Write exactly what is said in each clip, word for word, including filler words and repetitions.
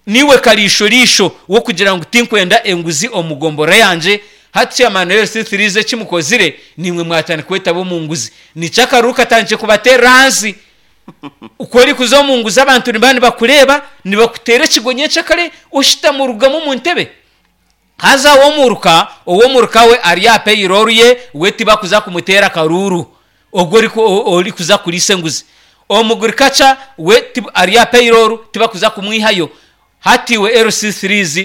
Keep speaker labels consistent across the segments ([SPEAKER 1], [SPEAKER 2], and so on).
[SPEAKER 1] Niiwe kariisho-riisho w'okugira ngu tinkwenda enguzi omu gombora yangye. Hati chairman L C threes eki mukozire, niimwe mwatandika kwetaba omu nguzi. Nikyo akaruru katandikire kubateerera ahansi. Ku orikuza omu nguzi, abantu nibaba nibakureeba, nibakuteera ekigo nyencakare oshutama orugamu omu ntebe. Haza ow'omuruka ow'omuruka we ari aha payroll ye, we tibakuza kumuteera akaruuru ogwo orikuza kuriisa enguzi. Omugurikaca we ari aha payroll, tibakuza kumwihayo. Hati iwe L C threes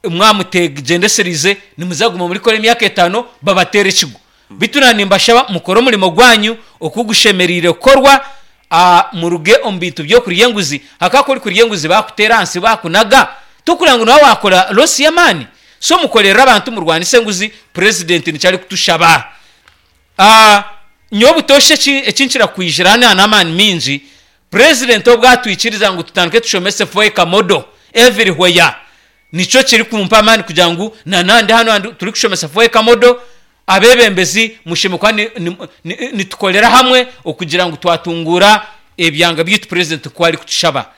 [SPEAKER 1] mwamutegyendesereize, nimuza kuguma murikora emyaka etaano babateere ekigo. Beitu naanye nimbashaba mukore omurimo gwanyu oku gushemereire kukorwa, muruge omu bintu by'okurya enguzi. Ahakuba ku orikurya enguzi baakuteera ahansi baakunaga, torikureba ngu nooba waakora loss y'amaani? So mukorerere abantu, murwanise enguzi, purezidenti nikyo arikutushaba. Nyowe butoosha eki nkira kwijira hanu n'amaani maingi, purezidenti obu atwikiriza ngu tutandike tushomese four acre model everywhere, nikyo kirikumpa amaani kugira ngu na nandi hanu turikushomesa four acre model. Abeebembezi mushemereire kuba nitukorera hamwe okugira ngu twatunguura ebyanga byaitu purezidenti ku arikutushaba.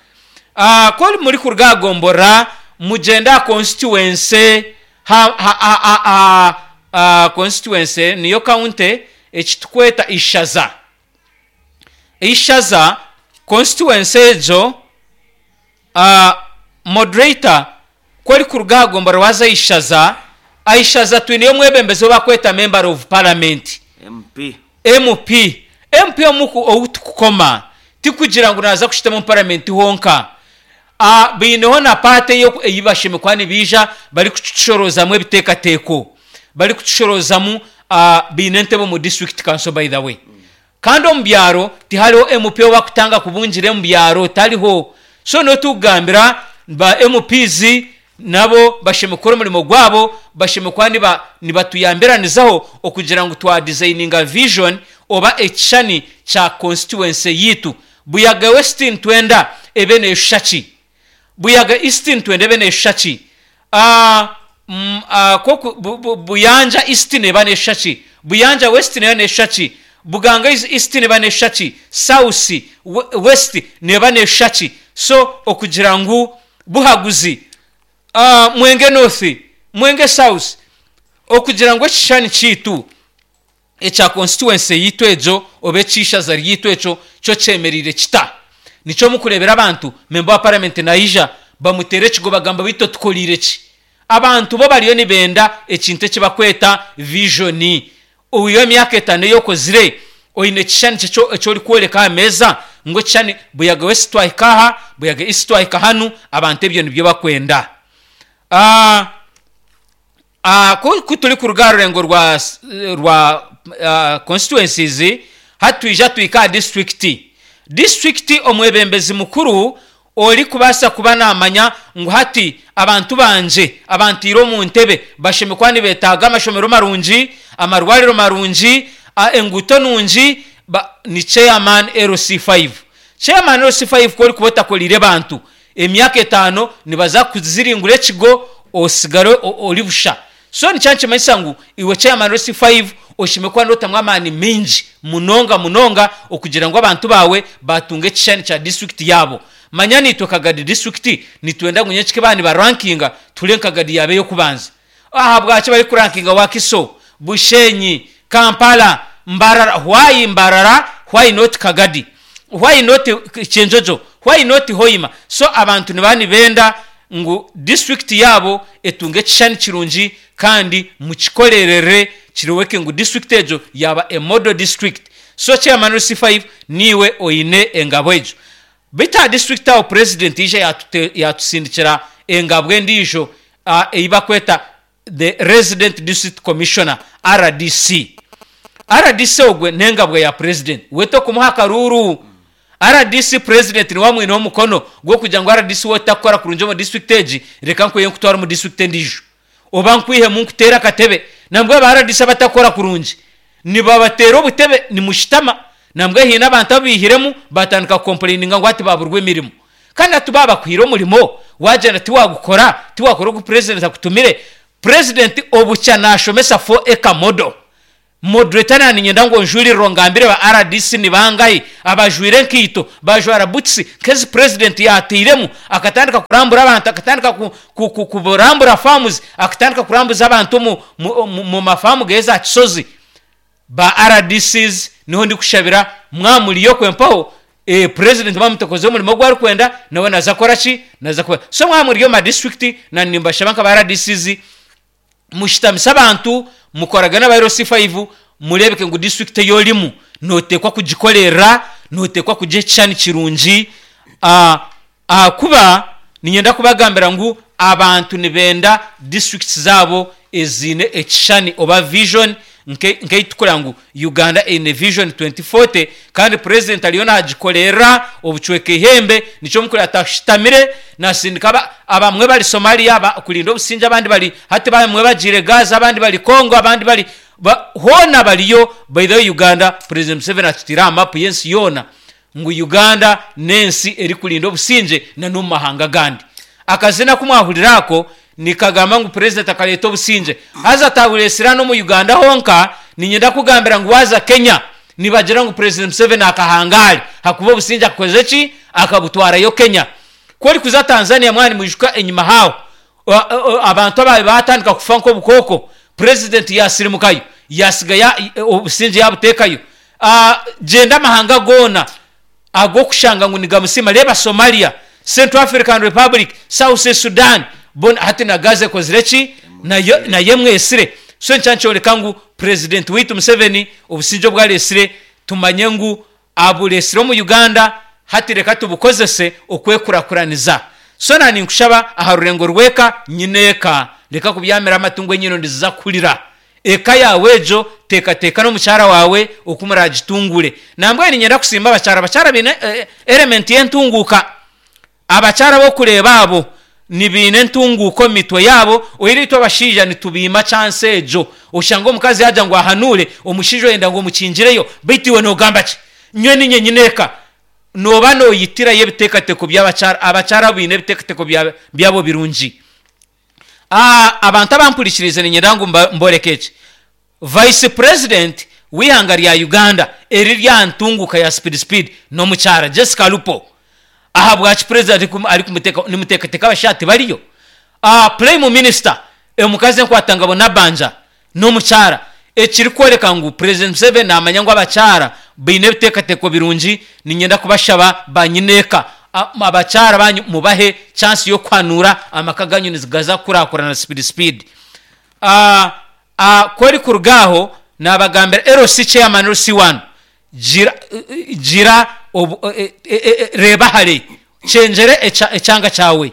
[SPEAKER 1] Ku murikuruga aha gombora mugyende aha constituency, constituency niyo county eki turikweta ishaza. Ishaza constituency egyo, moderator, ku orikuruga aha gombora waaza aha ishaza, aha ishaza twineyo omwebembezi ou barikweta Member of Parliament.
[SPEAKER 2] M P.
[SPEAKER 1] M P. M P ou turikukoma tikugira ngu naaza kushutama omu paramenti honka. Baineho na part ei bashemereire kuba nibaija barikutushoroozamu ebiteekateeko, barikutushoroozamu. Baine entebe omu district council, by the way. Kandi omu byaro tihariho M P ou barikutanga kubungira omu byaro, tariho. So niwe turikugambira ba M Ps nabo bashemereire kukora omurimo gwabo, bashemereire kuba nibatuyambiranizaho okugira ngu twadizayininga vision oba ekishushani kya constituency yaitu. Buyaga West nitwenda ebe neeshusha ki? Buyaga East nitwenda ebe neeshusha ki? Buyanja East neeba neeshusha ki? Buyanja West neeba neeshusha ki? Buganga East neeba neeshusha ki? South, West neeba neeshusha ki? So okugira ngu Buhaguzi, Mwenge North, Mwenge South, okugira ngu ekishushani kyaitu ekya constituency yaitu egyo oba eky'eishaza ryaitu ekyo kyo kyemereire kita? Nikyo murikureebera abantu member wa parliament naija bamuteera ekigo, bagamba, "Beitu otukoriire ki?" Abantu bo bariyo nibenda ekintu eki barikweta vision. Iwe emyaka etaano ei okozire, oine ekishushani ki eki orikworeka aha meeza ngu ekishushani Buyaga West twahika aha, Buyaga East twahika hanu? Abantu ebyo nibyo barikwenda. Ku turikuruga aha rurengo rwa rwa constituencies, hati twija tuhika aha district. District omwebembezi mukuru orikubaasa kuba naamanya ngu hati abantu bangye abantiire omu ntebe bashemereire kuba nibeetaaga amashomero marungi, amarwariro marungi, enguuto nungi, ni chairman L C five. Chairman L C five, ku orikuba otakoriire bantu, emyaka etaano nibaza kuziringura ekigo osigare ori busha. So nikyo nikimanyisa ngu iwe chairman L C five oshemereire kuba nootamu amaani maingi munonga munonga okugira ngu abantu baawe batunga ekishushani kya district yaabo. Manya naitwe Kagadi District nitwenda ngu nyenkika baaba nibarankinga tuhure ngu Kagadi yaaba ey'okubanza. Ahabwaki barikurankinga Wakiso, Bushenyi, Kampala, Mbarara? Why Mbarara? Why not Kagadi? Why not Kyenjojo? Why not Hoima? So abantu nibaba nibenda ngu district yaabo etunge ekishushani kirungi, kandi mukikorerere kirebeke ngu district egyo yaaba a model district. So chairman L C five, niiwe oine engabo egyo. Beitu aha district aho president yaija yatusindikira engabo endiijo ei barikweta the Resident District Commissioner, R D C. R D C ogwe n'engabwa ya president, we tokumuha akaruuru. R D C, president niwe amwineho omukono gw'okugira ngu R D C we otakukora kurungi omu district egi, reka nkwihe nkutware omu district endiijo oba nkwihemu nkuteere akatebe. Nambwenu aba R D C abatakukora kurungi nibabateera obutebe nimushutama. Nambwenu haine abantu abu baihiremu batandika kucomplaininga ngu hati baburwa emirimo. Kandi hati baaba bakuhaire omurimo, wagyenda tiwagukora, tiwakora ogu president akutumire. President obukya naashomesa four acre model. Moderator, naninyenda ngu onjurire, ngambire ba R D C ni bangahi abajwire enkaito, bajwara boots nk'ezi president yateiremu, akatandika kurambura abantu, akatandika ku- ku- ku- kurambura farms, akatandika kurambuza abantu omu- mu- mu mu mafamu geza Kisozi. Ba R D Cs niho ndikushabira, mwamuriyo kwempaho eh, president bamutekoze omurimo gwe arikwenda, nawe naza kora ki? Naza kuba. So mwamuriyo ma district, na nimbashaba nka ba R D Cs mushitamise abantu, mukoragana aba L C five, murebeke ngu district eyorimu notekwa kugikorera, notekwa kugiha ekishushani kirungi. Ah, ahakuba ninyenda kubagambira ngu abantu nibenda districts zaabo eziine ekishushani oba vision nke- nkeitukura ngu Uganda eine Vision twenty forty, kandi president ariyo nagikorera obucweka ihembe. Nikyo mukuru atashitamire nasindika aba- abamwe bari Somalia aba- kurinda obusinge, abandi bari hati, bamwe bagiire Gaza, abandi bari Congo, abandi bari ba, hoona bariyo. By the way, Uganda, President Museveni atutire aha mapu y'ensi yoona ngu Uganda n'ensi erikurinda obusinge na n'omu mahanga agandi. Akazina kumwahurira ako nikagamba ngu president akareeta obusinge, haza atabureesira n'omu Uganda honka. Ninyenda kugambira ngu waza Kenya, nibagira ngu President Museveni akahangare hakuba obusinge akakoze ki? Akabutwarayo Kenya. Ku orikuza Tanzania, mwani mwijuka enyima haaho o- o- abantu ababe batandika kufa nk'obukooko, president yasirimukayo, yasiga ya- obusinge yabuteekayo. Ah, genda amahanga goona ag'okushanga ngu nigamusima, reeba Somalia, Central African Republic, South Sudan bona, hati na Gaza ekozire ki? nayo nayo emwesire. So nkya nkyoreka ngu president waitu Museveni obusinge obwaresire, tumanye ngu aburesire omu Uganda. Hati reka tubukozese okwekurakuraniza. So nani nkushaba aha rurengo rweka nyineeka, reka kubyamira amatungo, enyino ndiziza kuhurira eka yawe egyo, teekateeka n'omukyara wawe oku muragitungure. Nambwenu ninyenda kusimba abakyara. Abakyara baine eh, element y'entunguuka. Abakyara bokureeba abo nibiine entunguuka omu mitwe yaabo. Oire itwe abashaija nitubiima chance egyo. Oshanga omukazi yagira ngu ahanure, omushaija oyenda ngu omukingireyo, baitu iwe nogamba ki? Nywe ninye nyineeka noba noyitirayo ebiteekateeko by'abakyara. Abakyara abo biine ebiteekateeko bya- byabo birungi. Ah, abantu abampurikirize, ninyenda ngu mba- mboreke eki: vice president w'ihanga rya Uganda eri rya ntunguka ya speed speed n'omukyara Jessica Alupo. Ahabwaki president ari kum- ari kumuteka nimuteekateeka abashaija tibariyo? uh, prime minister omukazi enkwatangabo Nabanja n'omukyara, ekirikworeka ngu President Museveni namanya ngu abakyara baine ebiteekateeko birungi. Ninyenda kubashaba banyineeka, a- abakyara banyu mubahe chance y'okuhanura, amaka ganyu nizigaza kukurakurana speed speed. uh, uh, kweri kuruga aho nabagambira L C chairman, L C one, gira, gira obu, e, e, e, reba hare, kyenjere echa- ekyanga kyawe.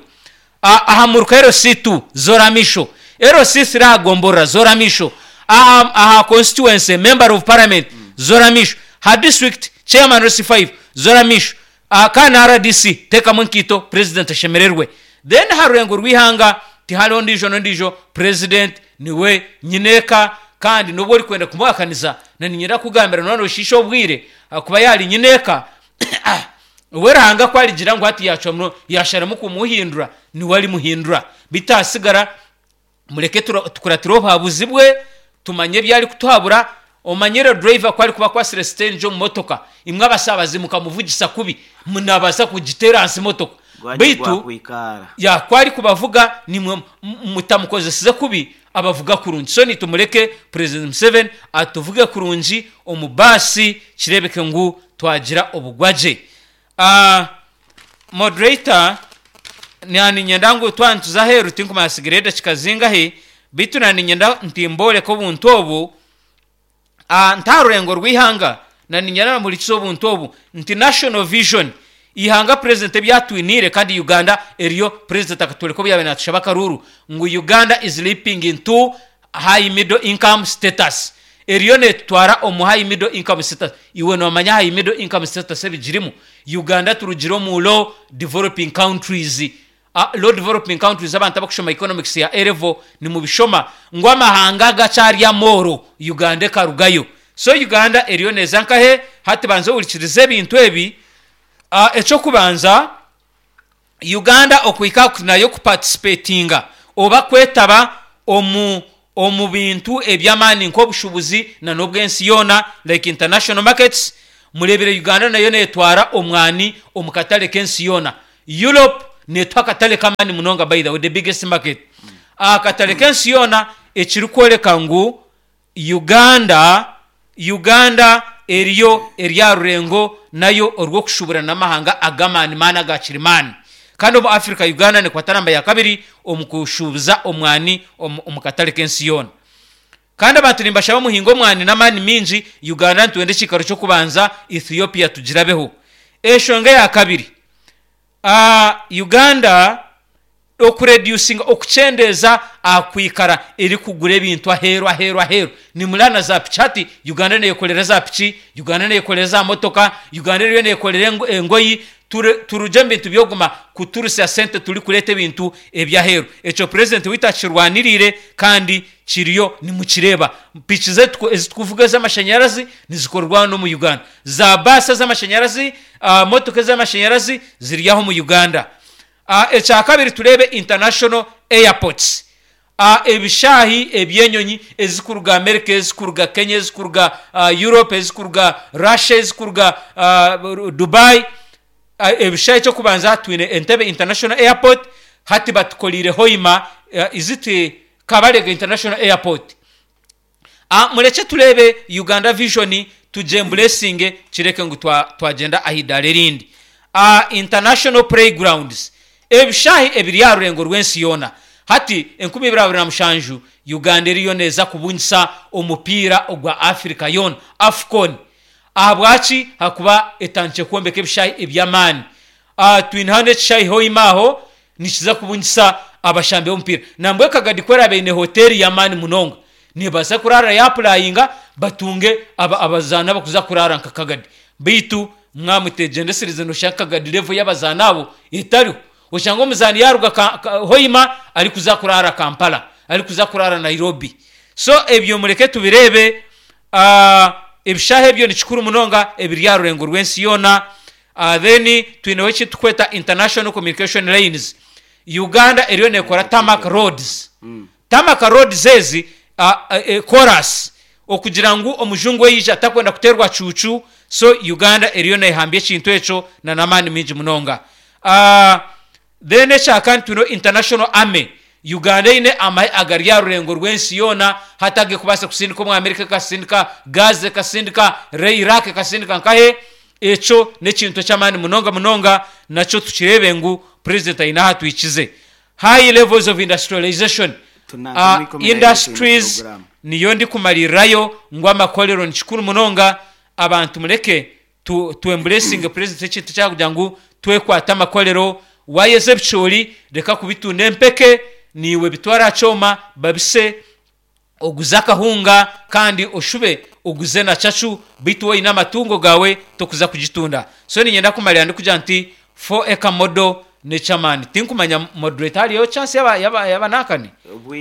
[SPEAKER 1] Ah, aha muruka L C two zora misho, L C three agomborora zora misho, aha, aha constituency member of parliament zora misho, ha district chairman L C five zora misho, uh, kana R D C tekamu enkiito, president ashemererwe. Then ha rurengo rw'ihanga tihariho ndijo n'ondijo, president niwe nyineeka. Kandi nubwo orikwenda kumuhakaniza, naninyenda kugambira none oshiisha obwire, kuba yari nyineeka we Ruhanga ko arigira ngu hati yacwamu, yasharamu kumuhindura, niwe arimuhindura. Bitasigara mureke tura- tukuratire obuhabuzi bwe, tumanye ebi ari kutuhabura. Omanyire driver ko ari kuba akwasire sitengi omu motoka, imwe abasabazi mukamuvugisa kubi, munabaasa kugiteera hansi motoka.
[SPEAKER 2] Gwanje
[SPEAKER 1] baitu
[SPEAKER 2] gwakwikara.
[SPEAKER 1] Yakwari ari kubavuga nimwe m- mutamukozeseze kubi, abavuga kurungi. So nitumureke President Museveni atuvuge kurungi omu baasi, kirebeke ngu twagira obugwagye. uh, moderator naninyenda ngu twantuza aheeru, tinkumanya sigire edakika zingahi, baitu naninyenda ntimboreka obuntu obu. Ah, nta rurengo rw'ihanga, naninyenda namurikiza obuntu obu nti national vision ihanga president ebyatwiniire, kandi Uganda eriyo president akatwereka obu yabaire natushaba akaruru ngu Uganda is leaping into high middle income status, eriyo netutwara omu high middle income status. Iwe nomanya high middle income status ebigirimu? Uganda turugire omu low developing countries. uh, low developing countries, abantu abakushoma economics ya A level nimubishoma ngu amahanga gakyari amooro, Uganda ekarugayo. So Uganda eriyo neza nkahe? Hati banza ohurikirize ebintu ebi. uh, ekyokubanza, Uganda okuhika nayo kuparticipatinga oba kwetaba omu Omu bintu eby'amaani nk'obushuubuzi na n'obw'ensi yoona, like international markets. Mureebire Uganda nayo neetwara omwani omu katare k'ensi yoona. Europe neetuha akatare k'amaani munonga, by the way, the biggest market aha katare k'ensi yoona, ekirikworeka ngu Uganda Uganda eriyo eri aha rurengo nayo orw'okushuubura n'amahanga ag'amaani maani aga kirimaani. Kandi omu Africa Uganda nekwata namba ya kabiri omu kushuubuza omwani omu omu katare k'ensi yoona. Kandi abantu nimbashaba muhinge omwani n'amaani maingi. Uganda nitwenda ekiikaro ky'okubanza, Ethiopia tugirabeho. Enshonga eya kabiri, Uganda okureducinga, okukyendeeza aha kwikara erikugura ebintu aheeru, aheeru, aheeru. Nimureba na za piki hati Uganda neyekorera za piki, Uganda neyekorera za motoka, Uganda eriyo neyekorera engoyi. Turugye omu bintu by'okuguma kuturusya sente turikureeta ebintu eby'aheeru. Ekyo purezidenti waitu akirwaniriire kandi kiriyo nimukireeba. Piki zaitu ezi turikuvuga ez'amashanyarazi nizikorwa hanu omu Uganda. Za baasi ez'amashanyarazi, motoka ez'amashanyarazi ziri aha omu Uganda. Ekyakabiri, tureebe international airports, ebishaayi eby'enyonyi ezikuruga America, ezikuruga Kenya, ezikuruga Europe, ezikuruga Russia, ezikuruga Dubai. Ebishaayi, eky'okubanza twine Entebbe International Airport, hati batukoriire Hoima, is it Kabalega International Airport? Murekye tureebe Uganda vision, tugyemburesinge, kireke ngu twagyenda aha idaara erindi. International playgrounds, ebishaayi ebiri aha rurengo rw'ensi yoona. Hati enkumi ibiri abiri na mushanju Uganda eriyo neeza kubungisa omupiira ogwa Africa yoona, AFCON. Ahabwaki? Hakuba etandikire kwombeka ebishaayi eby'amaani. Twine hanu ekishaayi Hoima, aho nikiza kubungisa abashambi b'omupiira. Nambwenu Kagadi ku eraabe eine hoteeri y'amaani munonga, neebaasa kuraara yaapurayinga batunge abazaani abakuza kuraara nka Kagadi. Beitu mwamutegyendesereze, nooshanga Kagadi level y'abazaani abo etariho, oshanga omuzaani yaaruga Hoima arikuza kuraara Kampala, arikuza kuraara Nairobi. So ebyo mureke tubireebe. Ebishaayi ebyo ni kikuru munonga ebiri aha rurengo rw'ensi yoona. Then twineho eki turikweta international communication lines. Uganda eriyo neekora tarmac roads. Tarmac roads ezi koraasi okugira ngu omujungu yaija atakwenda kuteerwa cuucu. So Uganda eriyo neehambya ekintu ekyo na n'amaani maingi munonga. Then ekyakani, twineho international army. Uganda eine amahe agari aha rurengo rw'ensi yoona hati, agarikubaasa kusindika omu America, ekasindika Gaza, ekasindika Iraq, ekasindika nkahe. Ekyo n'ekintu eky'amaani munonga munonga, nakyo tukireebe ngu purezidenti aine ahu atwikize. High levels of industrialization, industries, niyo ndikumaririrayo ngu amakorero ni kikuru munonga. Abantu mureke twemburesinge purezidenti ekintu ekyakugira ngu twekwate amakorero. Wayeza ebicoori, reka kubitunda empeke, niiwe bitware aha kyoma babise, oguze akahunga, kandi oshube oguze na cacu. Beitu woine amatungo gaawe tokuza kugitunda. So niinyenda kumarira ndikugira nti four acre model n'eky'amaani. Tinkumanya, moderator, hariyo chance y'abanankani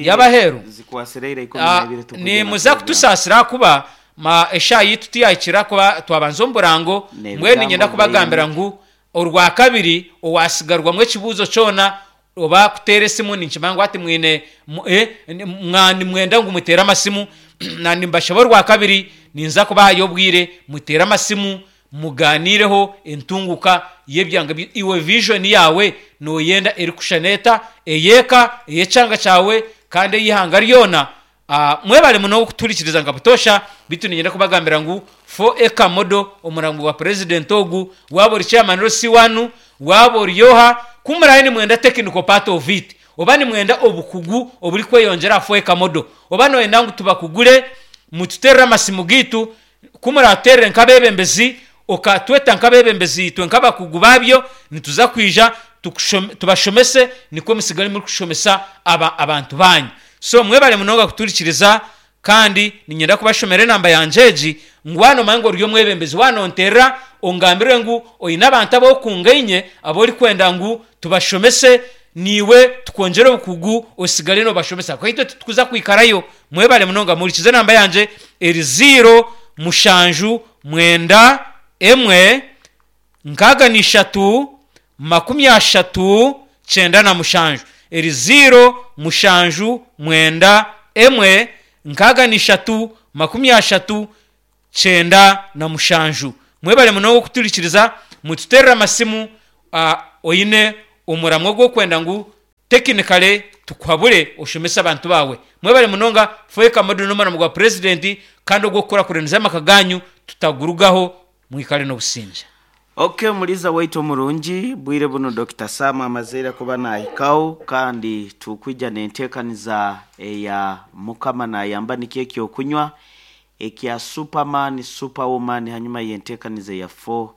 [SPEAKER 1] y'abaheeru?
[SPEAKER 2] Zikwasireire ikumi na ibiri tukugye na
[SPEAKER 1] Nimuza
[SPEAKER 2] program.
[SPEAKER 1] Kutusaasira ahakuba ma eshaaha yitu tiyahikire kuba twabanza omu burango. Mbwenu niinyenda
[SPEAKER 2] N'ebigambo
[SPEAKER 1] kubagambira
[SPEAKER 2] bingi.
[SPEAKER 1] ngu orwakabiri owasigarwamu ekibuuzo kyona oba kuteera esimu, ninkimanya ngu hati mwine nimwenda ngu muteere amasimu, na nimbashaba orwakabiri ninza kubahayo obwire muteere amasimu, muganiireho entunguka y'ebyanga. Iwe vision yaawe nooyenda erikushushana eta, ey'eka, ey'ekyanga kyawe, kandi ey'eihanga ryona? Mwebare munonga okutuhurikiriza nka butoosha. Beitu niinyenda kubagambira ngu four acre model, omurango gwa purezidenti ogu, waaba ori chairman L C one, waaba ori oha, ku muraabe nimwenda technical part of it, oba nimwenda obukugu oburikweyongyera aha four acre model, oba nooyenda ngu tubakugure, mututeerere amasimu gaitu. Ku muratuteerere nk'abeebembezi, okatweta nk'abeebembezi, itwe nk'abakugu baabyo nituza kwija tubashomese, nikwo musigare murikushomesa abantu banyu. So mwebare munonga kuturikiriza, kandi niinyenda kubashomera enamba yangye egi, ngu waaba noomanya ngu ori omwebembezi, waaba nonteerera ongambire ngu oine abantu abu okungaine abu orikwenda ngu tubashomese, niiwe tukwongyere obukugu osigare noobashomesa, ahakuba itwe titukuza kwikarayo. Mwebare munonga. Muhurikize, enamba yangye eri zeero mushanju mwenda emwe nkaaga na ishatu makumi ashatu kyenda na mushanju, eri zeero mushanju mwenda. Emwe nkaaga n'ishatu makumi ashatu kyenda na mushanju. Mwebale munonga okuturikiriza, mututeerere amasimu oine omuramwa ogw'okwenda ngu tekinikale tukuhabure oshomese abantu baawe. Mwebale munonga. Four Eka Model n'omuramo gwa Purezidenti kandi ogw'okukurakuraniza amaka gaanyu tutagurugaho. Mwikare n'obusingye.
[SPEAKER 2] Ok, Muliza waitu omurungi, bwire bunu Dokita Sam amazeire kuba nahikaho, kandi tukwija nentekaniza eya Mukama Nayamba, nikyo ekyokunywa ekya Superman, Superwoman, hanyuma yentekaniza eya four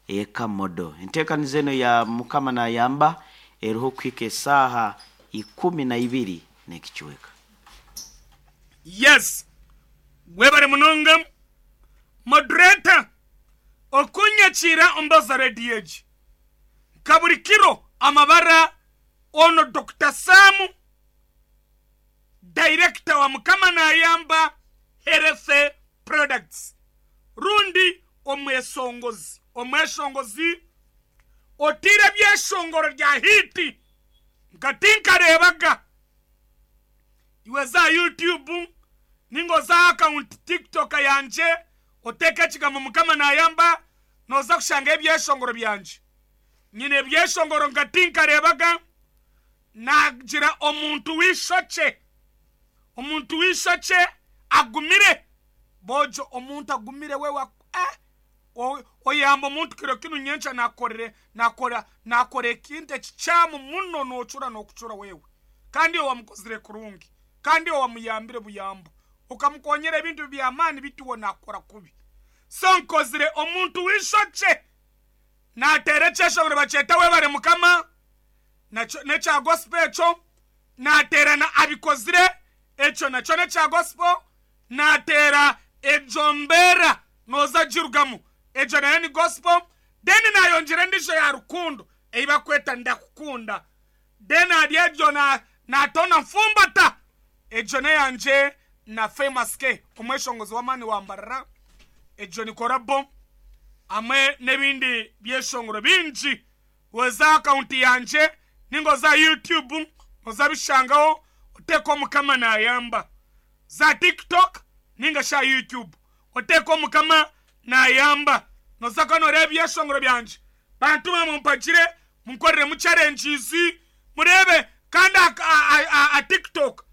[SPEAKER 2] Eka Model. Entekaniza eno ya Mukama Nayamba eriho kuhika esaaha ikumi na ibiri n'ekicweka.
[SPEAKER 3] Yes, webare munonga, moderator, okunyakiira ombaza rediyo egi nka buri kiro. Amabara ono Doctor Sam, director wa Mukama Nayamba Health Products, rundi omwesongozi omweshongozi otiire ebyeshongoro rya hit nka tinkareebaga. Iwe za YouTube ninga oza account TikTok yangye, oteeka ekigambo Mukama Nayamba, noza kushanga ebyeshongoro byangye. Nyine ebyeshongoro nka tinkareebaga. Nagira omuntu w'ishokye, omuntu w'ishokye agumire bojo, omuntu agumire we wa eh, oyamba omuntu kiro kinu, nyenkya nakorere nakora nakora ekintu ekikyamu muno, nocura nokucura wewe, kandi iwe wamukozire kurungi, kandi iwe wamuyambire buyambo, ukamukonyera ebintu by'amaani, bituwo nakora kubi. So nkozire omuntu w'ishokye nateera ekyeshongoro bakyeta Webare Mukama, nekya gospel. Ekyo nateera na Abikozire, ekyo nakyo nekya gospel. Nateera Egyo Mbeera Noza Girugamu, egyo nayo ni gospel. Then nayongyera endiijo ya rukundo ei bakweta Ndakukunda. Then hari egyo natona Nfumbata, egyo neyangye na Famous K, omweshongozi w'amaani wambarara, egyo ni collabo, hamwe n'ebindi byeshongoro bingi. Oza account yangye ninga oza YouTube oza bishangaho, oteeka Omukama Nayamba. Za TikTok ninga sha YouTube, oteeka Omukama Nayamba, noza kuba noreeba ebyeshongoro byangye. Bantu bamumpagire, munkoreremu challenges murebe. Kandi a TikTok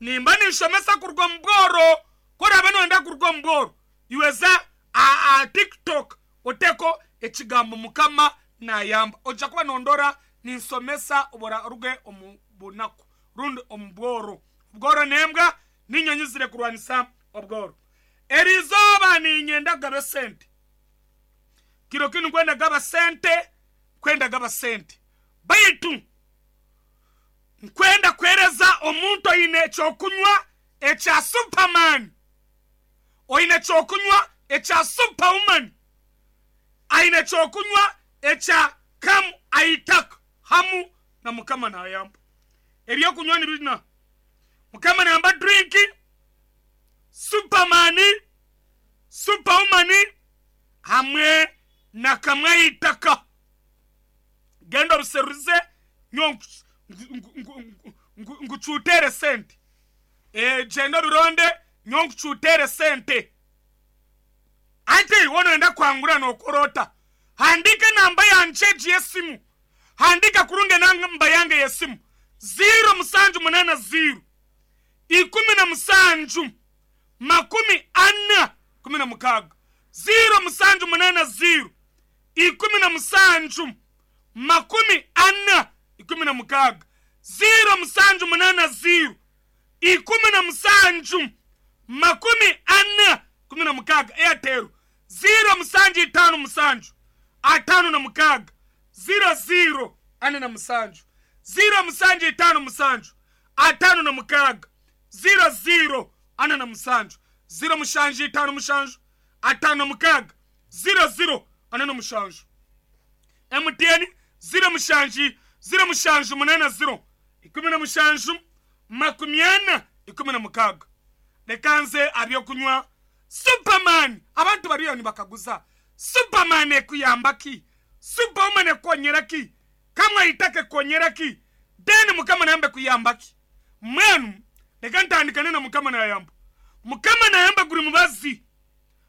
[SPEAKER 3] nimba ninshomesa kuruga omu bworo. Koraba noyenda kuruga omu bworo, iwe za a TikTok, oteeko ekigambo Mukama Nayamba, ojja kuba nondora ninsomesa oruge omu bunaku rundi omu bworo. Obworo nembwa ninyonyi zire kurwanisa obworo. Erizooba ninyenda kugaba esente. Kiro kinu nkwenda gaba sente, kwenda gaba sente, baitu nkwenda kwereza omuntu oine ekyokunywa ekya Superman, oine ekyokunywa ekya Superwoman, aine ekyokunywa ekya Kamu Aitaka hamu na Mukama Nayamba. Ebyokunywa nibina Mukama Nayamba drink, Superman, Superwoman hamwe na Kamwe Aitaka. Genda obiseruze, nyo nkucutere sente. Genda obironde, nyo nkucutere sente. Ati wonoenda kwangura nokorota, handika namba yangye egi y'esimu, handika kurungi namba yange y'esimu: ziro musanju munana ziro ikumi na musanju makumi ana kumi na mukaaga, ziro musanju munana ziro ikumi na musanju makumi ana ikumi na mukaaga, ziro musanju munana ziro ikumi na musanju makumi ana kumi na mukaaga. Airtel, ziro musanju itaano musanju atano na mukaaga ziro ziro ana na musanju, ziro musanju itaano musanju atano na mukaaga ziro ziro ana na musanju, ziro mushanju itaano mushanju atano na mukaaga ziro ziro ana na mushanju. M T N, ziro mushanju ziro mushanju munana ziro ikumi na mushanju makumi ana ikumi na mukaaga. Reka nze abyokunywa Superman. Abantu bariyo nibakaguza, Superman ekuyamba ki? Superwoman ekonyera ki? Kamwe Aitaka ekonyera ki? Then Mukama Nayamba kuyamba ki? Mwenu Leka ntandikane na Mukama nayamba. Mukama nayamba guri mubazi.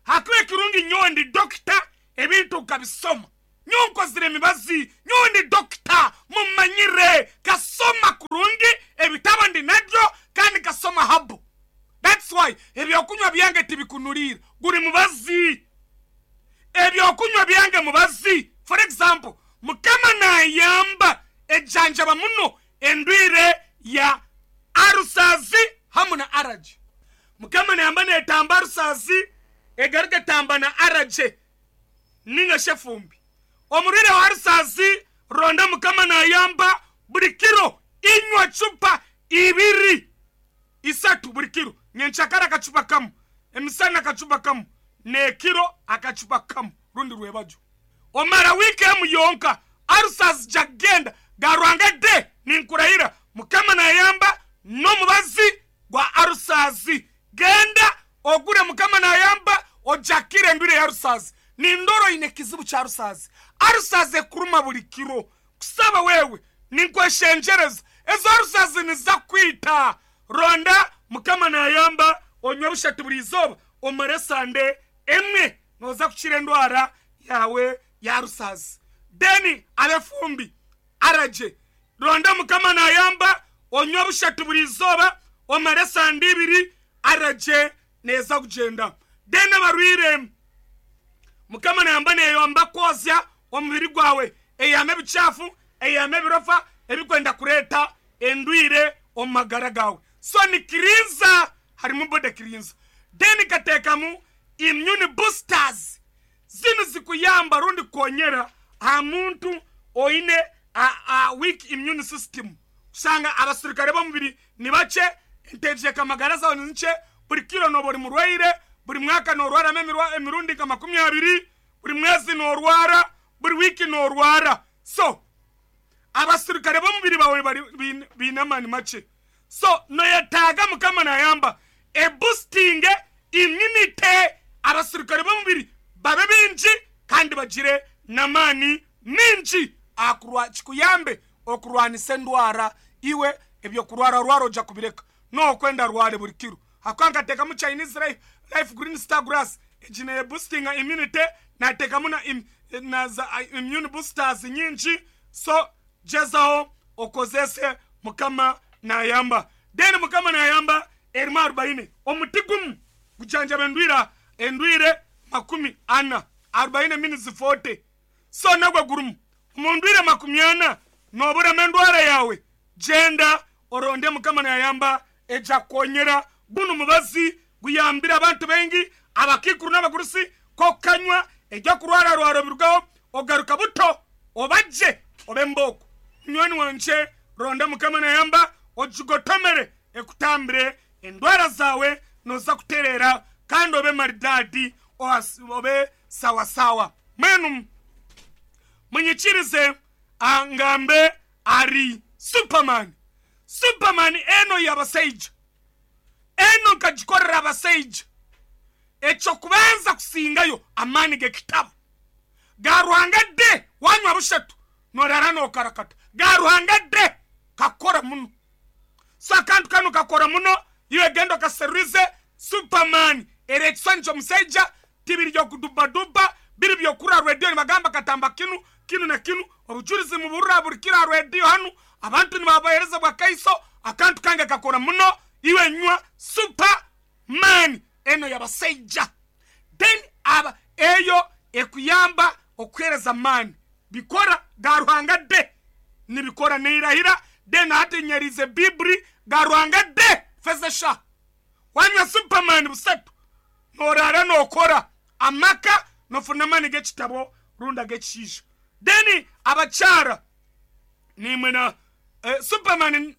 [SPEAKER 3] Hakuba ekirungi nyowe ndi dokita, ebintu ukabisoma. Nyowe nkozire emibazi, nyowe ndi dokita, mumanyire, kasoma kurungi, ebitabo ndi nabyo, kandi kasoma habu. That's why ebyokunywa byange tibikunulira. Guri mubazi. Ebyokunywa byange mubazi. For example, Mukama nayamba ejanjaba muno endwire ya arusazi hamu na araje. Mukama nayamba netamba arusazi egaruka tamba na araje ninga shefumbi. Omurire wa arusazi ronda Mukama nayamba buri kiro inywa chupa ibiri isatu buri kiro. Nyenchakara akachupa kamu, emisana akachupa kamu, nekiro akachupa kamu rundi rwebajo. Omara wiki emu yonka arusazi jagenda garwanga de ninkurahira. Mukama nayamba n'omubazi gwa arusazi. Genda ogure Mukama nayamba ojakire endwire ya arusazi. Nindoro ine kizibu cha arusazi. Arusazi ekuruma buri kiro. Kusaba wewe ninkweshenjereza ezo arusazi nizakwita. Ronda Mukama nayamba onywe bushatu buri izoba omare sande emwe noza kukira endwara yawe ya rusazi. Deni abefumbi araje. Ronda Mukama nayamba onywe bushatu buri izoba omare sande ibiri araje neza kugenda. Deni abarwire Mukama nayamba neyamba kwozya omubiri gwawe eyame bichafu eyame birofa ebikwenda kureta endwire omagara gawe. So ni kirinza harimu bode kirinza. Deni katekamu immune boosters zinu zikuyamba rundi konyera ha muntu oine a, a weak immune system. Usanga abasirikare bomubiri ni bache entejeka magara zawe ni nche buri kiro no buri murwaire buri mwaka no rwara memirwa emirundi kama makumi abiri buri mwezi no rwara buri wiki no rwara. So abasirikare bomubiri bawe bari binamani mache. So noyetaga Mukama nayamba e boosting immunity abasirikare bomubiri babe binji kandi bagire namani minji akurwa chikuyambe okurwanisa endwara iwe ebyo kurwara rwaro oja kubireka no kwenda rware buri kiro. Hakanka teka mu Chinese life, life green star grass ejine boosting immunity na teka muna im, na za immune boosters nyinji. So jezao okozese Mukama nayamba. Then Mukama nayamba erima arobaini omutigum kujanja bendwira endwire makumi ana arobaini minutes forty. So nagwa gurumu mundwire makumi ana nobura mendwara yawe jenda oronde Mukama nayamba eja konyera bunu mubazi guyambira abantu bengi abakikuru n'abagurusi kokanywa ejya kurwara rwaro birugaho ogaruka buto obaje obemboko. Nywani wanje ronda Mukama nayamba ojigotomere ekutambire endwara zawe noza kuterera kandi obe maridadi obe sawasawa. Mwenu munyikirize angambe ari Superman. Superman eno yabaseija eno nkagikorera abaseija ekyo kubanza kusingayo amani gekitabo garuhanga de wanywa bushatu norara nokarakata garuhanga de kakora muno. So akantu kano kakora muno iwe gendo kaserize Superman erekisonjo museija tibiri byo kudubaduba biri byo kura radio ni katamba kinu kinu na kinu obujulizi muburura buri kira radio hanu abantu ni babahereza bwa kaiso akantu kange kakora muno iwe nywa Superman eno yabaseija. Then aba eyo ekuyamba okwereza mani bikora garuhanga de nibikora neirahira. Then hati nyerize bibri garuhanga de fezesha wanywa Superman busatu norara nokora amaka nofuna mani gekitabo runda gekishisha. Then abachara nimwe na eh, Superman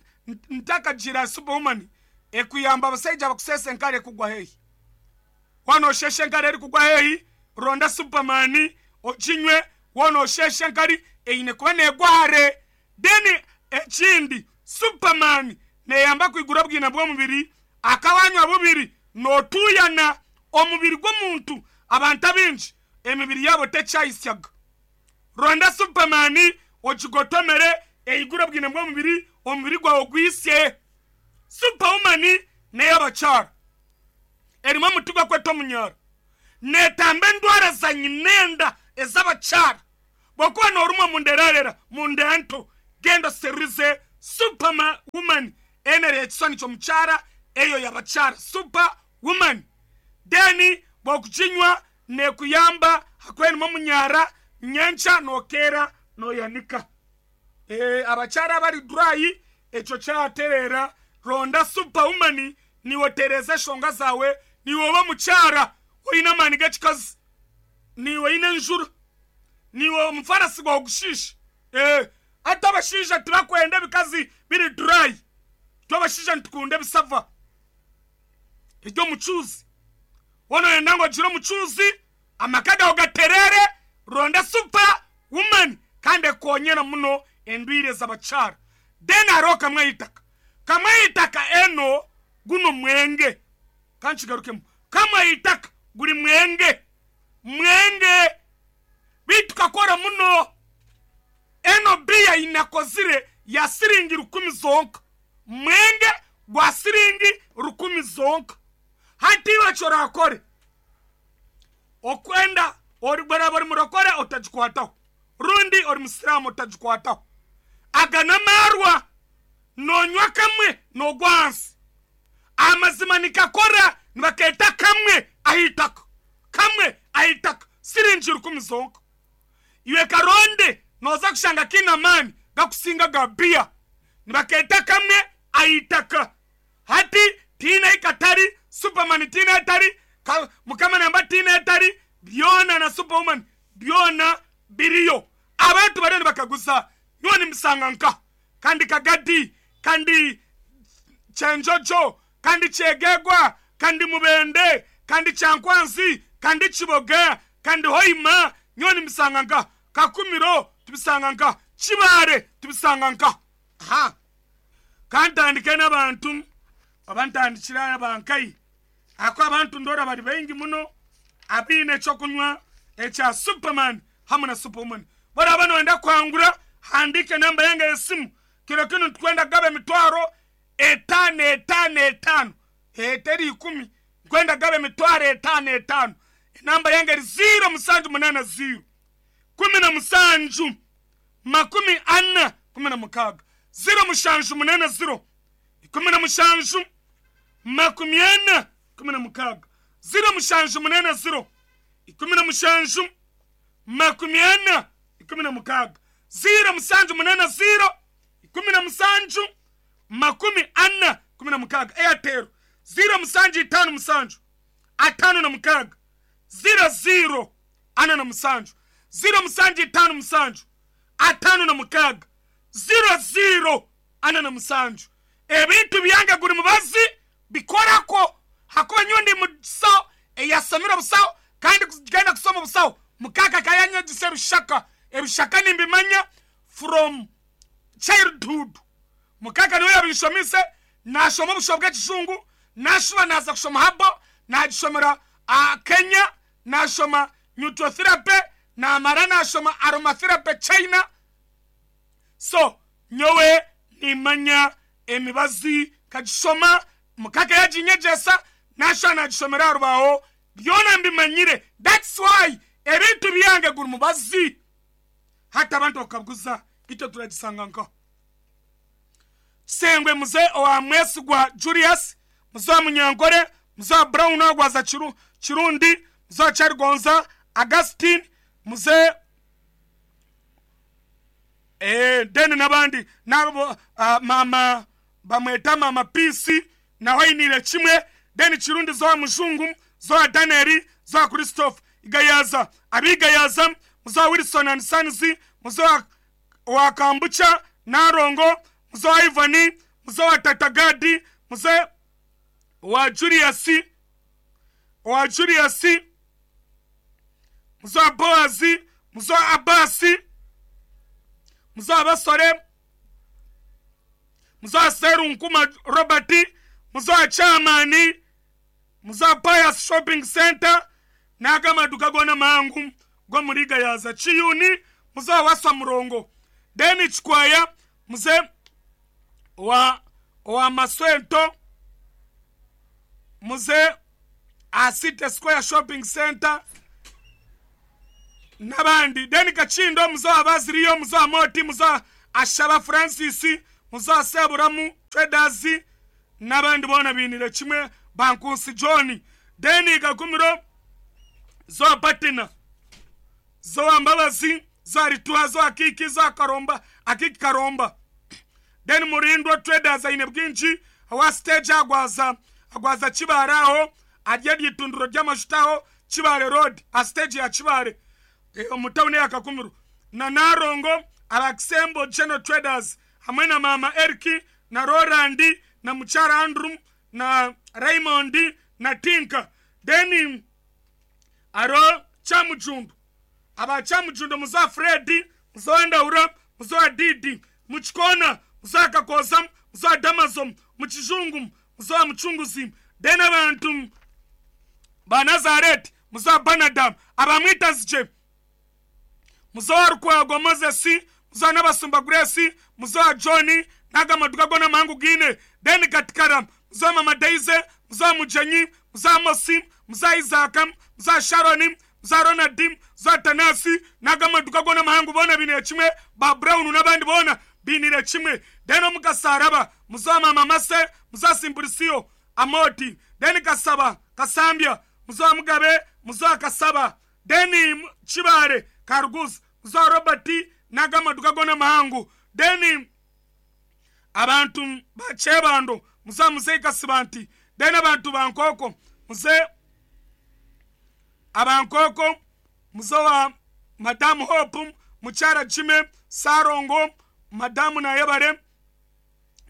[SPEAKER 3] ntaka jira Superwoman ekuyamba abasaija bakusesa enkare kugwa hehi wano sheshe enkare eri kugwa hehi ronda Superman okinywe wano sheshe enkari eine kuba negware. Then ekindi Superman neyamba kwigura bwina bw'omubiri akawanywa bubiri notuyana omubiri gw'omuntu abantu abingi emibiri yabo tekyayisyaga. Ronda Superman okigotomere eigura bwina bw'omubiri omubiri gwawe gwisye. Superwoman n'ey'abakyara, erimu omuti gwakweta omunyara, netamba endwara za nyinenda ez'abakyara. Bwokuba norumwa munderarera munda nto, genda oserize Superwoman, enere ekiswani ky'omukyara, eyo y'abakyara, Superwoman. Then bwokuginywa nekuyamba hakuba erimu omunyara, nyenkya nokeera noyanika. E, abakyara abari dry ekyo kyaterera, ronda Superwoman niwe otereza eshonga zawe, niwe oba mukyara oyine amaani g'ekikazi, niwe oyine enjura, niwe omufarasi gwawe gushiisha. E, ate abashaija tibakwenda ebikazi biri dry, twe abashaija nitukunda ebisava ery'omucuuzi. Woona oyenda ngu ogire omucuuzi, amaka gawe gaterere, ronda Superwoman, kandi ekonyera muno endwire z'abakyara. Then hariho kamwe eitaka, kamwe eitaka eno guno mwenge, kankigarukemu, kamwe eitaka guri mwenge, mwenge bitu kakora muno. Eno biya inakozire ya siringi rukumi zonka, mwenge gwa siringi rukumi zonka. Hati iwe kyorakore okwenda ori bwaraba ori murokore otagikwataho, rundi ori musiramu otagikwataho. Aga n'amarwa nonywa kamwe nogwa ahansi. Amazima nikakora, nibaketa kamwe ahitaka, kamwe ahitaka siringi rukumi zonka. Iwe karonde noza kushanga kiine amaani gakusinga ga biya, nibaketa kamwe ahitaka. Hati tiine ikatari Superman, tiine etari Mukama namba, tiine etari byona na Superwoman byona biriyo. Abantu bariyo nibakaguza nyowe nimbisanga nka kandi Kagadi, kandi Kyenjojo, kandi Kyegegwa, kandi Mubende, kandi Kyankwanzi, kandi Kiboga, kandi Hoima, nyowe nimbisanga nka Kakumiro, tubisanga nka Kibaare, tubisanga nka. Ha, kantandike n'abantu oba ntandikira abankai ako abantu ndora bari baingi muno abiine ekyokunywa ekya Superman hamwe na Superwoman. Baraba noyenda kwangura, handike namba yange y'esimu. Kiro kinu nitukwenda kugaba emitwaro etaano etaano etaano, eteri ikumi, nkwenda kugaba emitwaro etaano etaano. Enamba yange eri ziro musanju munana ziro kumi na musanju makumi ana kumi na mukaaga, ziro mushanju munana ziro ikumi na mushanju makumi ana kumi na mukaaga, ziro mushanju munana ziro ikumi na mushanju makumi ana ikumi na mukaaga, ziro musanju munana ziro ikumi na musanju makumi ana kumi na mukaaga. Airtel ziro musanju itaano musanju atano na mukaaga ziro ziro ana na musanju, ziro musanju itaano musanju atano na mukaaga ziro ziro ana na musanju. Ebintu byange guri mubazi bikorako, hakuba nyowe ndi musawo eyasomire obusawo kandi kugenda kusoma obusawo mukaka kayanyegisa ebishaka, ebishaka nimbimanya from childhood. Mukaka niwe yabishomise, nashoma obusho bw'ekijungu, nashuba naza kushoma habo, nagishomera uh, Kenya, nashoma nutrotherapy, namara nashoma aromatherapy China. So nyowe nimanya emibazi kagishoma, mukaka yaginyegesa, nashuba nagishomera arubaho, byona mbimanyire. That's why ebintu byange guri mubazi. Hata abantu bakabuguza icyo turagisanga nka Sengwe muze owa Mwesigwa Julius, muze wa Munyankore, muze wa Brown Agwaza Chiru, Chirundi, muze wa Charigonza Augustine, muze eh deni n'abandi nabo, uh, mama bamweta mama Pisi naho ayinire kimwe. Deni Chirundi zo wa Mujungu, zo wa Daniel, zo wa Christophe Igayaza, abigayaza, muze wa Wilson and Sons, muze wa, wa Kambucha Narongo, muze wa Ivani, muze wa Tatagadi, muze wa Julius, wa Julius, muze wa Boazi, muze wa Abasi, muze wa Basore, muze wa Serunkuma Robert, muze wa Chamani, muze wa Pius Shopping Center, n'agamaduka gona mangu go muri Gayaza Chiyuni, muze wa Waswa Murongo, Deni Chikwaya, muze wa Owa Maswento muze aha City Square Shopping Center n'abandi. Then Kakindo muze owa Baziriyo, muze owa Moti, muze owa Ashaba Francis, muze owa Seburamu Traders n'abandi boona bainire kimwe Bankunsi John. Then Kagumiro zowa Patina, zowa Mbabazi, zowa Rituha, zowa Kiki, zowa Karomba, Akiki Karomba. Then Murindwa Traders aine bwingi awa stage agwaza agwaza Kibare aho arye ryitundiro ry'amajuta aho Kibare Road a stage ya Kibare e, omu tawuni ya Kakumiro. Na Narongo Abakisembo General Traders hamwe na Mama Eriki na Roland na Mukyara Andrew na Raymond na Tinka. Then aro Kyamujundu aba Kyamujundu muza Fred, muza Ndaura, muza Didi, Muchikona, muza Kakoza, muza Damazom, Muchizungu, muza Muchunguzi. Then abantu ba Nazareth, muza Banadam, abamwita zije muza Rukwago Moses, muza Nabasumba Grace, muza John n'agamaduka gona mangu gine. Then Katikara muza Mama Daisy, muza Mujanyi, muza Mosi, muza Isaac, muza Sharon, muza Ronald, muza Tanasi n'agamaduka gona mahangu bona binire kimwe ba Brown n'abandi bona binire kimwe. Then omukasaraba muza Mama Mase, muza Simburisio Amoti. Then Kasaba Kasambia, muza Mugabe, muza Kasaba. Then Chibare Karuguz, muza Robert n'agamaduka gona mahangu. Then abantu bachebando muza Muzei Kasibanti. Then abantu bankoko muze abankoko muzowa Madam Hope, Mukyara Jime Sarongo, Madamu Nayebare,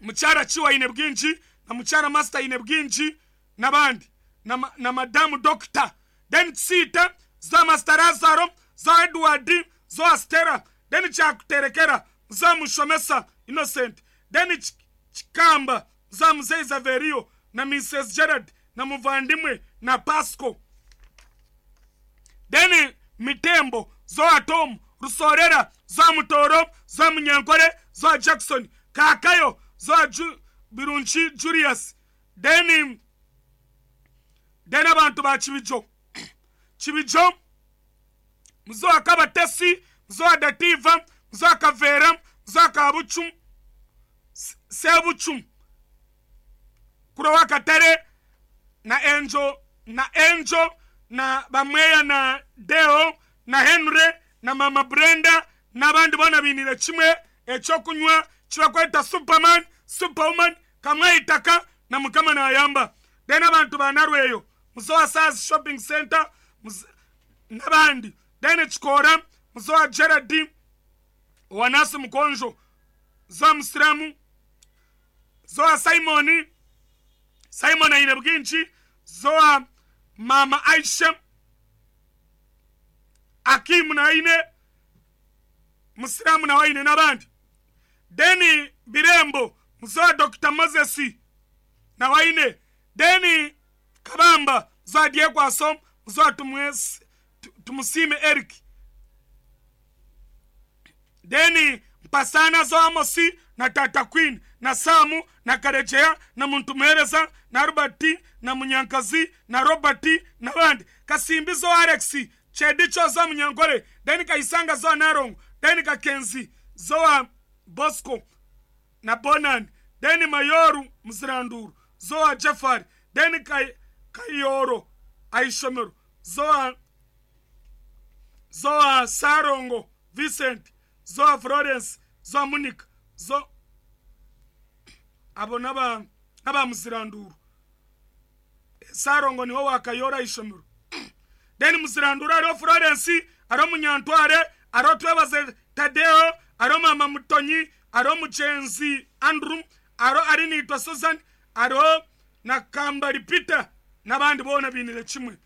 [SPEAKER 3] Mukyara Chiwa ine bwingi na Mukyara Master ine bwingi n'abandi na, na Madamu Doctor. Then Sita za Master Lazaro, za Edward, za Stella. Then Chakuterekera za Mushomesa Innocent. Then Chikamba za Mzee Zaverio na Missus Gerard na Muvandimwe na Pasco. Then Mitembo zoa Tom Rusorera, zoa Mutoro, zoa Munyankore, zoa Jackson Kakayo, zoa Ju, Birunchi Julius. Then then abantu ba Chibijo Chibijo mzoa Kabatesi, mzoa Dativa, mzoa Kavera, mzoa Kabuchum Sebuchum Kurowa Katare na Angel na Angel na Bamweya na Deo na Henry na Mama Brenda n'abandi bona binire kimwe ekyokunywa kibakweta Superman, Superwoman kamweyitaka na Mukama nayamba. Then abantu banarweyo muzowa Saz Shopping Center n'abandi. Then Chikora muzowa Gerard Wanasi Mukonjo, zowa Musiramu, zowa Simoni Simon aine bwingi, zowa Mama Aisha Akimu na aine Musiramu na waine n'abandi. Then Birembo muzowa Doctor Moses na waine. Then Kabamba muzowa Diekwaso, muzowa Tumusime Eric. Then Mpasana zowa Amosi na Tata Queen na Samu na Karejea na Muntumereza na Robert na Munyankazi na Robert na bandi. Kasimbi zowa Alex Chedicho zowa Munyankore. Then Kaisanga zowa Narongo. Then Kakenzi zowa Bosco na Bonan. Then Mayoru Mziranduru zowa Jafari. Then Kay, Kayoro Aishomero zowa zowa Sarongo Vincent, zowa Florence, zowa Monica, zo abo naba naba Mziranduru. Sarongo niho wakayora Aishomero. Then Mziranduru ariho Florence, ariho Munyantware, ariho Twebaze Tadeo, ariho Mama Mutonyi, ariho Muchenzi Andrew, ariho Arinitwa Susan, ariho na Kambari Peter n'abandi bona binire kimwe.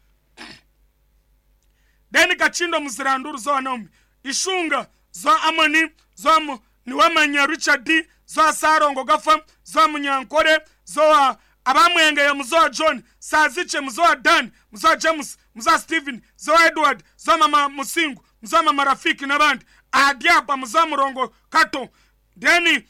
[SPEAKER 3] Then Kachindo Mziranduru zowa Naomi, Ishunga zowa Amoni, zowa Niwamanya Richard, zowa Sarongo Gafa, zowa Munyankore, zowa abamwenge muzowa John, Saziche muzowa Dan, muzowa James, muzowa Steven, zowa Edward, zowa Mama Musingu, muzowa Mama Rafiki n'abandi. Adiapa muzowa Murongo Kato. Then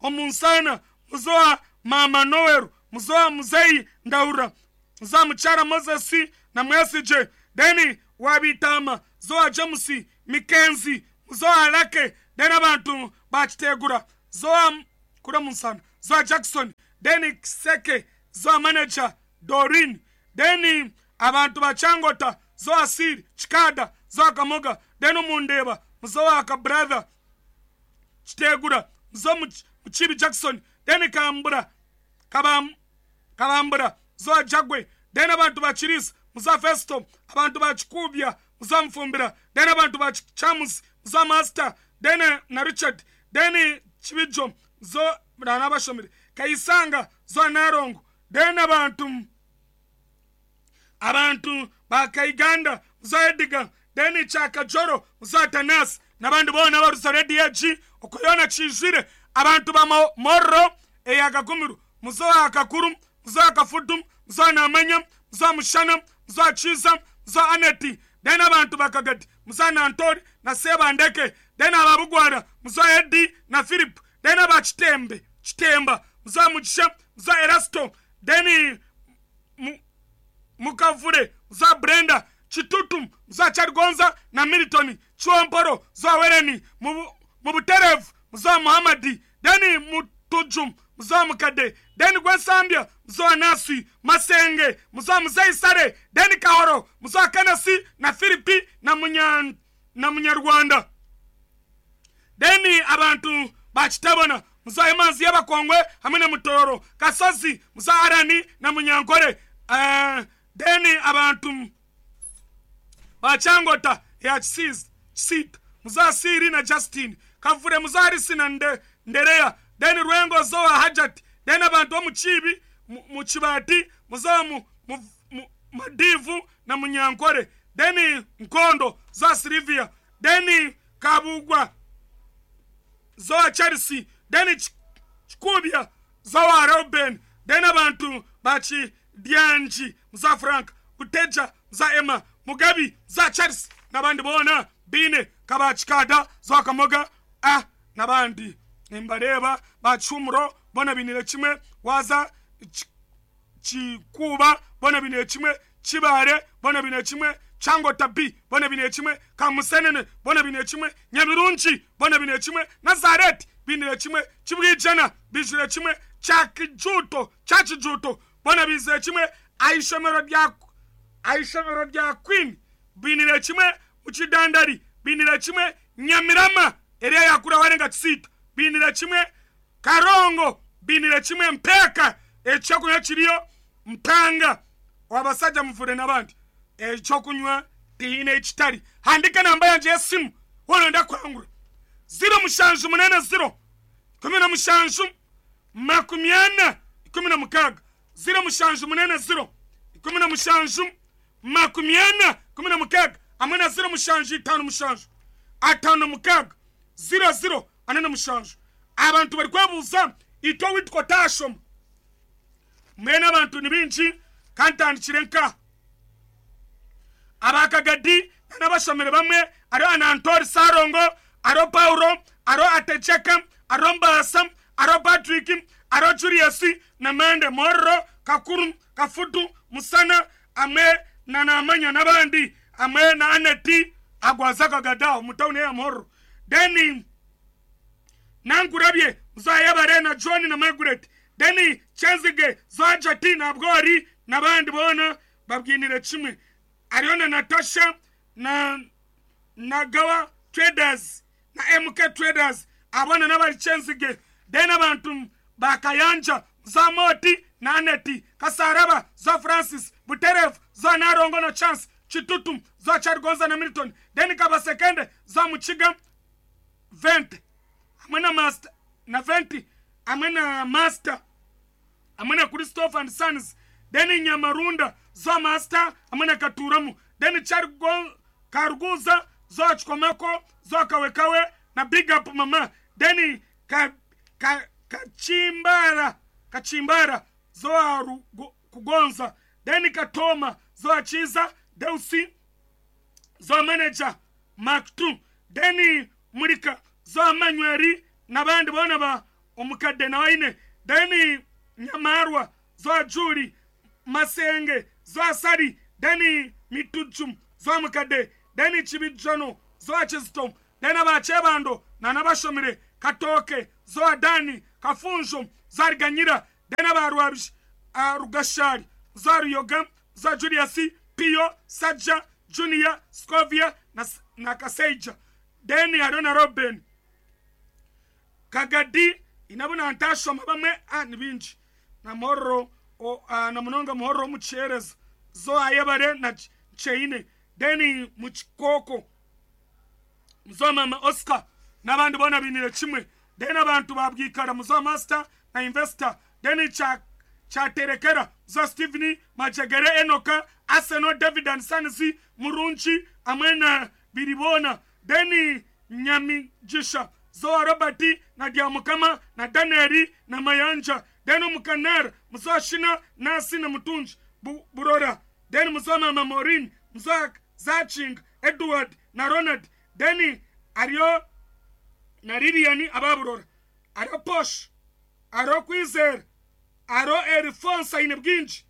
[SPEAKER 3] Omunsana muzowa Mama Noel, Muzoa Muzei Ndaura, Muzoa Muchara Moses na Mwesije, then Wabitama, Zoa James Mikenzi, Muzoa Alake, then abantu bakitegura, Zoa kura munsana, Zoa Jackson, then Seke, Zoa manager Dorin, then abantu bachangota, Zoa Sir Chikada, Zoa Kamoga, then Mundeba, Muzoa ka brother Kitegura, Muzoa Muchibi Jackson, then Kambura, Kabam, Kabambura, Zoa Jagwe, then abantu bachirisi, Muzoa Festo, abantu bachikubya, Muzoa Mfumbira, then abantu bachamus, Muzoa Master, then na Richard, then Chibijo, Zoa Ranabashomire, Kaisanga, Zoa Narongo, then abantu abantu bakaiganda, Muzoa Edgar, then Chakajoro, Muzoa Tanas, n'abandi bona barusa Radio G, okuyona kijire, abantu ba Moro eyakagumiru, Muzoa Akakuru, Muzoa Kafudu, Muzoa Namanya, Muzoa Mushana, Muzoa Chiza, Muzoa Aneti, then abantu bakagadi, Muzoa Nantori na Sebandeke, then ababugwara, Muzoa Edi na Philip, then abachitembe, Chitemba, Muzoa Mugisha, Muzoa Erasto, then Mukavure, Muzoa Brenda, Chitutu, Muzoa Charigonza na Milton, Chuamporo, Muzoa Wereni, Mubuterev, Muzoa Muhammadi, then Mutujum, Muzoa Mukade, then Gwensambia, Muzoa Nasi, Masenge, Muzoa Muzei Sare, then Kahoro, Muzoa Kanasi na Philipi na Munya na Munyarwanda. Then abantu bachitabona, Muzoa Emanzi y'Abakongwe hamwe na Mutoro, Kasozi, Muzoa Arani na Munyankore. Uh, then abantu bachangota ya Chisita, Muzoa Siri na Justin, Kavure Muzoa Arisi na Nde, Nderea, then Rwengo Zoa Hajat, then abantu muchibi muchibati, Muzoa mu, mu, mu, Madivu na Munyankore, then Nkondo Zoa Silvia, then Kabugwa Zoa Chelsea, then Chikubia Zoa Robin, then abantu bachi Dianji, Muzoa Frank, Uteja, Muzoa Emma, Mugabi, Muzoa Charles, nabandi bona bine kabachikada Zoa Kamoga, ah nabandi nimbareba bachumro bona binire kimwe, waza Chikuba bona binire kimwe, Chibare bona binire kimwe, Chango Tabi bona binire kimwe, Kamusenene bona binire kimwe, Nyabirunchi bona binire kimwe, Nazareth binire kimwe, Chibwijana bijire kimwe, Chakijuto Chachijuto bona bizire kimwe, Aishomero rya Aishomero rya Queen binire kimwe, Muchidandari binire kimwe, Nyamirama area yakura warenga Chisita binire kimwe, Karongo binire kimwe, Mpeka ekyokunywa kiriyo Mpanga wabasajja muvure n'abandi ekyokunywa tihine ekitari. Handika namba yanje y'esimu wono ndakwangura zero mushanju munene zero kumi na mushanju makumi ana ikumi na mukaga zero mushanju munene zero ikumi na mushanju makumi ana ikumi na mukaga hamwe na zero mushanju itanu mushanju atano mukaga zero zero ane na mushanju. Abantu bari kwebuuza itwe witwa tashoma mwene abantu ni bingi kantandikire nka abakagadi n'abashomere bamwe ariho Anantori Sarongo, ariho Paulo, ariho Atecheka, ariho Mbasa, ariho Patrick, ariho Julius na Mende Morro, Kakuru, Kafutu, Musana, amwe na Namanya n'abandi amwe na Aneti agwaza kagadao mutawuni ya Morro. Then Nangurabye Muzoa Yabare na John na Margaret, then Chenzige Zoa Jati na Bgori n'abandi bona babwinire kimwe, ariho na Natasha na Nagawa Traders na M K Traders abona n'abari Chenzige. Then abantu bakayanja Muzoa Moti na Aneti Kasaraba, Zoa Francis Buterev, Zoa Narongo na Chance Chitutu, Zoa Chargonza na Milton, then Kabasekende Zoa Muchiga Vente amwe na Master na Venti amwe na Master amwe na Christopher and Sons, then Nyamarunda Zoa Master amwe na Katuramu, then Chargo Karuguza Zoa Chikomeko, Zoa Kawekawe na Big Up Mama, then ka, ka, Kachimbara Kachimbara Zoa Rugo, Kugonza, then Katoma Zoa Chiza Deusi Zoa Manager Mark two, then Murika Zoa Manyweri n'abandi bona ba omukadde na waine, then Nyamarwa zoa Juli Masenge zoa Sari deni Mitujum zoa Mukade deni Chibijono zoa Chistom deni Abachebando na nabashomire Katoke zoa Dani Kafunjo zoa Riganyira deni Abarwabish Rugashari zoa Ruyoga zoa Julius Pio Saja Junior Scovia na, na Kaseija deni Arona Robin Kagadi inabona ntashoma bamwe ah ni bingi na morro o ah, na munonga muhoro muchereza zo ayebare na cheine deni muchikoko muzoma Oscar n'abandi bona binire kimwe deni abantu babwikara muzo master na investor deni cha chaterekera zo Steven Majegere Enoka Arsenal David and Sons Murunchi amwena biribona deni Nyamijisha zo Robert na Diamukama na Danieli na Mayanja deni Mukanar muzo Shina Nasi na Mutunji Bu, Burora deni muzo Mama Morin muzo Zaching Edward na Ronald deni Ario na Lilian ababurora Ario Posh Ario Kwizer Aro Erifonsa inebwinji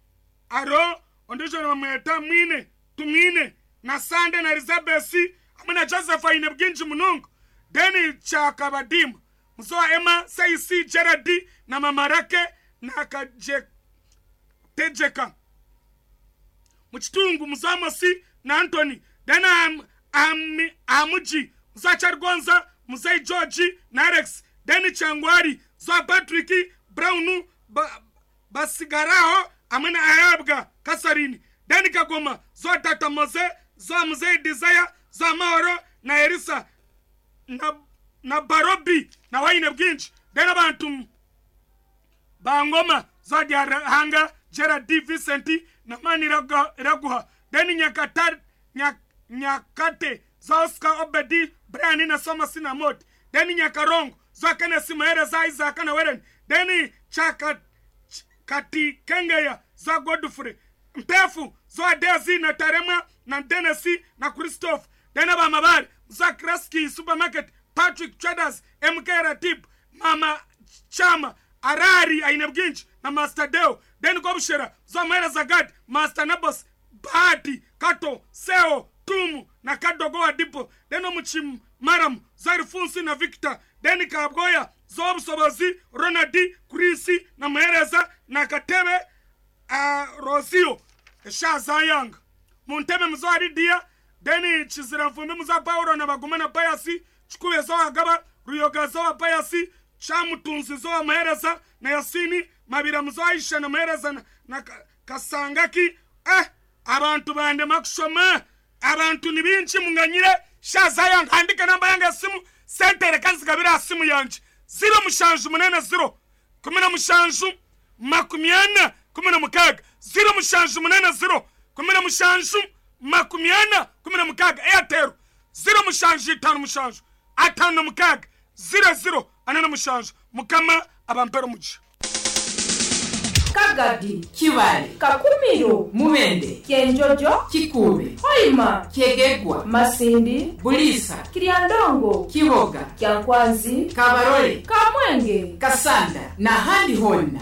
[SPEAKER 3] Aro ondijo na mweta mwine tumwine na Sande na Elizabeth amwe na Joseph inebwinji munungu deni Chakabadimu muzoa Emma Saisi Gerard na Mamarake na Kaje Tejeka muchitungu muzoa Mosi na Anthony deni am, am, Amuji muzoa Chargonza muzoa George na Alex deni Changwari zoa Patrick Brown ba, basigaraho amwe na Ayabga Kasarini deni Kagoma zoa Tata Moze zoa Mzee Desire zoa Maoro na Erisa na, na Barobi na Waine Bwinji deni abantu Bangoma zoa Diarahanga Gerard D. Vincent na Mani Raguha deni Nyakata Nyak, Nyakate zoa Oscar Obedi Brian na Soma Sinamot deni Nyakarongo zoa Kenneth Mahere za Isaac na Weren deni Chaka Kati Kengeya zoa Godfrey Mpefu zoa Dezi na Tarema na Denesi na Christophe deni Bamabari zoa Kraski Supermarket Patrick Traders M K Ratib Mama Chama Arari Ainebginch na Master Deo deni Gobshera zoa Mahere Zagad Master Nabos Bahati Kato Seo Tumu na Kadogo Adipo deni Muchim Maram zoa Rifunsi na Victor deni Kabgoya zoa Busobozi Ronaldi Kurisi na Mahereza na Katebe uh, Rosio Shazayang Munteme mzoa Lidia deni Chiziramfumbi mzoa Paulo na Baguma na Payasi Chikube zoa Gaba Ruyoga zoa Payasi Chamutunzi zoa Mahereza na Yasini Mabira mzoa Aisha na Mahereza na, na Kasangaki eh abantu bande makushoma abantu ni bingi munganyire Shazayang andika namba yange simu sentere kanzigabira simu yanje zero mushanju munene zero kumi na mushanju makumi ana kumi na mukaga zero mushanju munene zero kumi na mushanju makumi ana kumi na mukaga Airtel zero mushanju itanu mushanju atanu na mukaga zero zero ana na mushanju mukama abampero muji
[SPEAKER 4] Kagadi
[SPEAKER 5] Kibale
[SPEAKER 4] Kakumiro
[SPEAKER 5] Mubende
[SPEAKER 4] Kyenjojo
[SPEAKER 5] Kikube
[SPEAKER 4] Hoima
[SPEAKER 5] Kyegegwa
[SPEAKER 4] Masindi
[SPEAKER 5] Bulisa
[SPEAKER 4] Kiryandongo
[SPEAKER 5] Kiboga
[SPEAKER 4] Kyankwanzi
[SPEAKER 5] Kabarole
[SPEAKER 4] Kamwenge
[SPEAKER 5] Kasanda na handi honna.